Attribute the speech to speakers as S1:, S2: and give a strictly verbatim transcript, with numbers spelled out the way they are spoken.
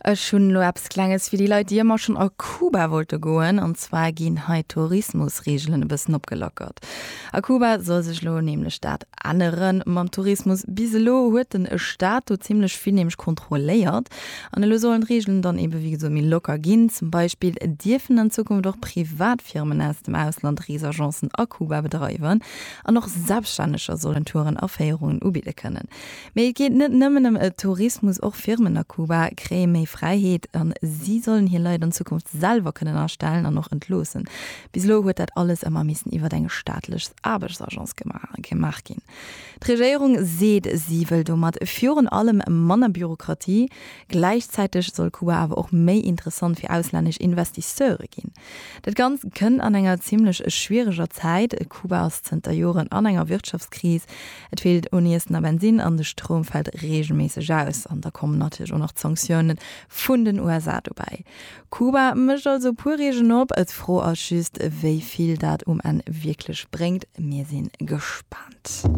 S1: Ech hunn elo eppes Klenges fir déi Leit, déi ëmmer schonn a Kuba wollte goen. An zwar ginn hei d'Tourismusreegelen e bëssen opgelockert. A Kuba soll sech elo nämlech dat ännere mam Tourismus. Bis elo huet den Staat do zimmlech vill nämlech kontrolléiert. An elo sollen d'Reegelen dann ebe wéi gesot méi locker ginn. Zum Beispill dierfen an Zukunft och privat Firmen aus dem Ausland Reesagencen a Kuba bedreiwen. An och Selbststänneger sollen Touren a Féierungen ubidde kënnen. Mee et geet net nëmmen ëm Tourismus, och Firmen a Kuba kréie méi Fräiheet an si sollen hir Leit an Zukunft selwer kënnen astellen an och entloossen. Bis elo huet dat alles ëmmer missen iwwer eng staatlech Aarbechtsagence gemaach ginn. D'Regéierung seet, si wëll domat virun allem manner Bürokratie, gläichzäiteg soll Kuba awer och méi interessant fir auslännesch Investisseure ginn. Dat Ganzt kënnt an enger zimmlech schwiereger Zäit, Kuba ass zënter Joren an enger Wirtschaftskris, et feelt un Iessen a Bensinn an de Stroum fält reegelméisseg aus. An da kommen natierlech och nach d'Sanktioune vun den U S A dobäi. Kuba mécht also puer Reegelen op, d'Fro ass just, wéi vill dat um Enn wierklech bréngt. Mir si gespaant.